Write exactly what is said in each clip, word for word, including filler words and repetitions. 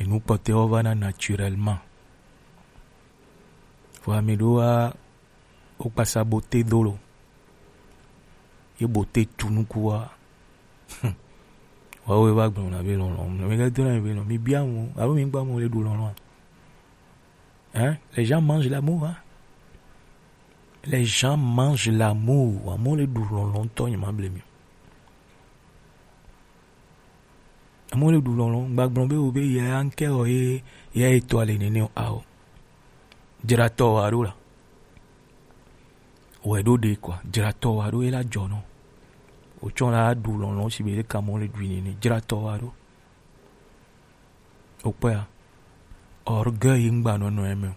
Enu kpɔtɔewo vana naturellement. Vɔ ame ɖewo wa wo kpasa bote do lo. Ye bote tu nuku wa. Wawo va gblɔ na be lɔlɔ̃. Mi ga do na be lɔlɔ̃. Mi bia mo, alo mi gba mo le ɖu lɔlɔ̃. Hein? Les gens mangent l'amour, hein? Les gens mangent l'amour. Amewo le ɖu lɔlɔ̃ ŋutɔ, nye ma ble mi. Amewo le ɖu lɔlɔ̃, gba gblɔ be wo be ya ŋkɛ o ye, ya etɔ le nene o, ao. Dzratɔ wa ɖo la. Wɛ ɖo ɖe kɔa, dzratɔ wa ɖo ye la dzɔ nɔ. Wotsɔ la ɖu lɔlɔ̃ si be ɖeka amewo le ɖui nene, dzratɔ wa ɖo. Wokpɔa, orgueil ŋgba nɔnɔ eme o.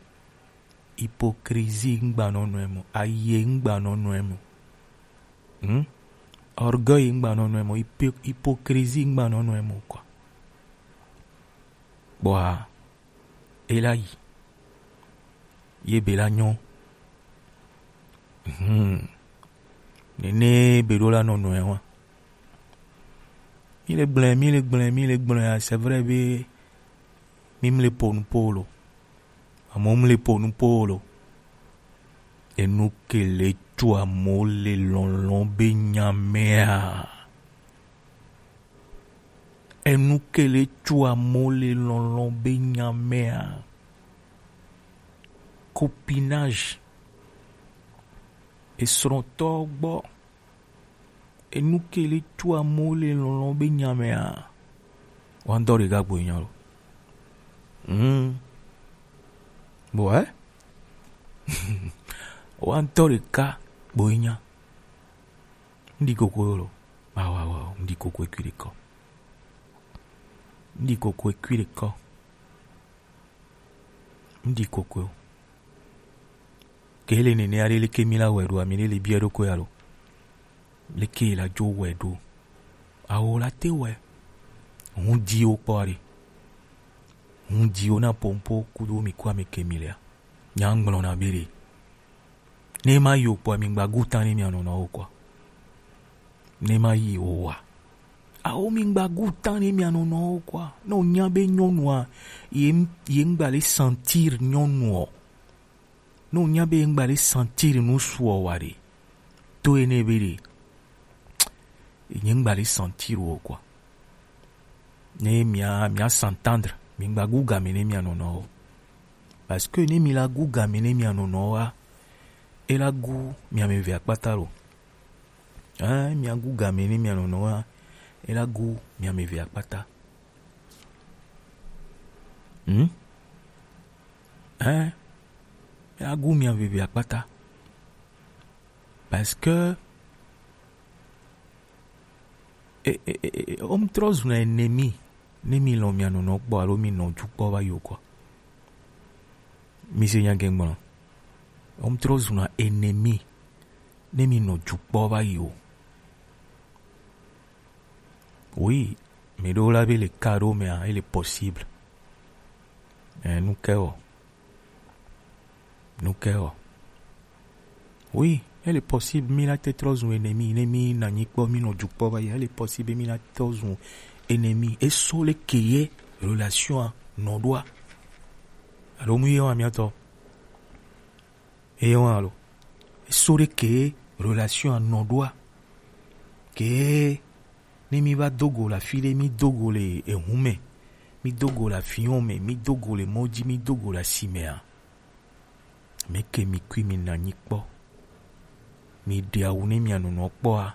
Hypocrisie ŋgba nɔnɔ eme o. Aye ŋgba nɔnɔ eme o. Hmm? Orgueil ŋgba nɔnɔ eme o. Hypo-, hypocrisie ŋgba nɔnɔ eme o, quoi. Kpɔa, e la yi. Ye be la nyɔ. Hmm. Nene be ɖo la nɔnɔ eme wa. Mi le gblẽ, mi le gblẽ, mi le gblẽ, ah, c'est vrai be mi mle po nu po lo. Amewo mle po nu po lo. Enu ke le tu amewo le lɔlɔ̃ be nya mea? Enu ke le tu amewo le lɔlɔ̃ be nya mea? Copinage. Esrɔ̃tɔ gbɔ. Enu ke le tu amewo le lɔlɔ̃ be nya mea? Wa ŋutɔ ɖeka gboe nya lo. Hmm. Bon, eh? Wa ŋutɔ ɖeka gboe nya. Ŋdi koko lo. Wa, wa, wa, ŋdi koko ekui ɖekɔ. Ŋdi koko ekui ɖekɔ. Ŋdi koko. Ke le nene aɖe leke mi la wɛ ɖo, ami ɖe le biɛ ɖo ko ya lo. Leke la dzo wɛ ɖo. Awo la te wɛ. Ŋu di wo kpɔ aɖe. Ŋu di wo na pompo kudo mi ku ame ke mi lea. Nya ŋgblɔ na be ɖe. Ne ma yi o kpɔa, mi gba gu tan ne mia nɔnɔwo kɔa. Ne ma yi o wa. Awo mi gba gu tan ne mia nɔnɔwo kɔa. Ne o nya be nyɔnua, ye, ye ŋgba le sentir nyɔnuɔ. Ne o nya be ye ŋgba le sentir nu suɔ wa ɖe. To ene be ɖe. Nye ŋgba le sentir o kɔa. Ne mia, mia s'entendre, mi gba gu game ne mia nɔnɔwo. Parce que ne mi la gu game ne mia nɔnɔwo a, e la gu mia me ve akpata lo. Hein, mia gu game ne mia nɔnɔwo a, e la gu mia me ve akpata. Hmm? Hein? E la gu mia me ve akpata. Parce que e, e, e, e, o mu trɔ zuna ennemi ne mi lɔn mia nɔnɔ kpɔ alo mi nɔ ju kpɔ va yi o kɔa. Mi se nya gɛngblɔ. O mu trɔ zuna ennemi ne mi nɔ ju kpɔ va yi o. Oui, mi ɖo la be le ka ɖo mea, ele possible. Eh, nu ke o. Nu ke o. Oui, ele possible mi la te trɔ zu ennemi, ne mi na nyi kpɔ, mi nɔ ju kpɔ va yi, ele possible mi la trɔ zu ennemi. E so le ke ye relation a nɔ ɖoa. Alo mu ye wa miatɔ. Eye wa alo. E so ɖe ke relation a nɔ ɖoa. Ke ne mi va do go le afi ɖe, mi do go le ehun me, mi do go le avion me, mi do go le mɔ ji, mi do go le asi mea, meke mi kui mi na nyi kpɔ. Mi ɖe awu ne mia nɔnɔ kpɔa.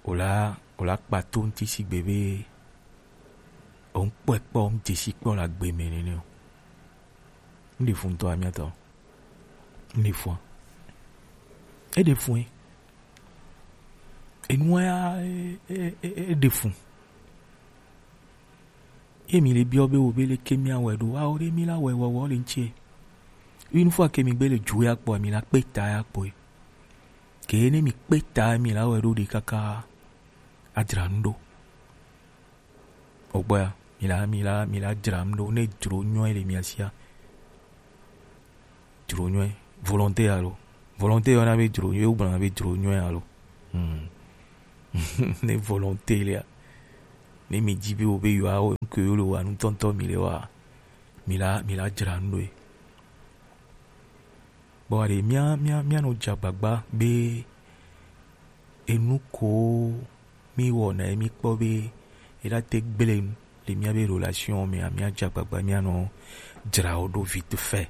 O la, o la kpa to ŋuti sigbe be o ŋkpɔe kpɔ, o ŋdesi kpɔ le agbe me nene o. Ŋɖe fu ŋutɔ amiatɔ. Ŋɖe fua. Eɖe fue. Enua ya, e, e, e, eɖe fu. Ye mi le biɔ be wo be leke mia wɛ ɖo. Awo ɖe mi la wɛ wɔwɔ le ŋtsi. Une fois ke mi gbe le ju ya kpɔa, mi la kpe ta ya kpɔe. Ke ne mi kpe ta mi la wɛ ɖo ɖe kaka adzra nu ɖo. Ogbɔa, mi la, mi la, mi la dzra nu ɖo, ne dzro nyɔe le mia sia. Dzro nyɔe, volonté alo. Volonté yɔna be dzro nyɔe, wogblɔna be dzro nyɔe alo. Hmm. Ne volonté lea, Ne mi di be wo be yewoa wo nu ke wo le wa nu tɔntɔ mi le wa, mi la, mi la dzra nu ɖo ye. Bon, allez, mía, mía, mía nɔ dze agbagba be enu ko mi wɔna ye mi kpɔ be e la te gble nu le mía be relation me a, mía dze agbagba mía nɔ dzra wo ɖo vite fait.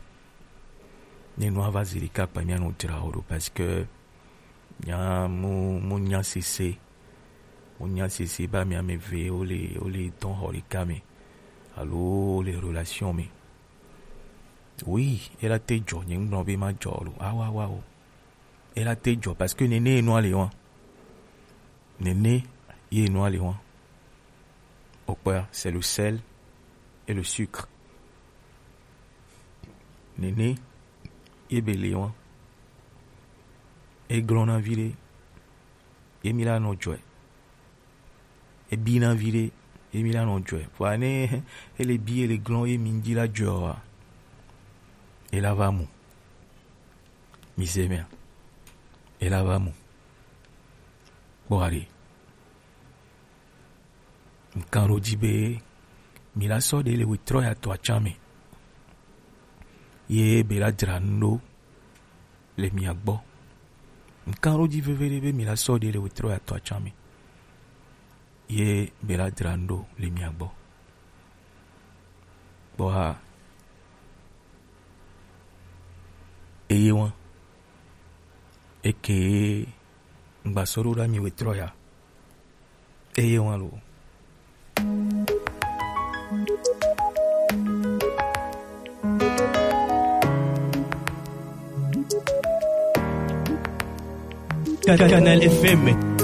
Ne nua va zi ɖeka kpa mía nɔ dzra wo ɖo parce que mía mu, mu nya sese, mu nya sese ba mía me ve wo le, wo le dɔn xɔ ɖeka me alo wo le relation me. Oui, e la te dzɔ, nye ŋgblɔ be ma dzɔ lo. Awa, awa o. E la te dzɔ parce que nene ye nua le wa. Nene ye nua le wa. Okpɔa, c'est le sel et le sucre. Nene ye be le wa. E glɔna vi ɖe. Ye mi la nɔ dzɔe. E bina vi ɖe. Ye mi la nɔ dzɔe. Vɔa ne e le bi, e le glɔn, ye mi ŋdi la dzɔe wa. E la va mu. Mi se mea? E la va mu. Kpɔ aɖe. Ŋkan ɖo dzi be mi la sɔ ɖe le wetrɔ ya tɔ atsa me. Ye be la dzra nu ɖo le mia gbɔ. Ŋkan ɖo dzi veve ɖe be mi la sɔ ɖe le wetrɔ ya tɔ atsa me. Ye be la dzra nu ɖo le mia gbɔ. Kpɔ ha. Eye wa. Eke ŋgba sɔ ɖo ɖa mi wetrɔ ya. Eye wa lo. Canal F M.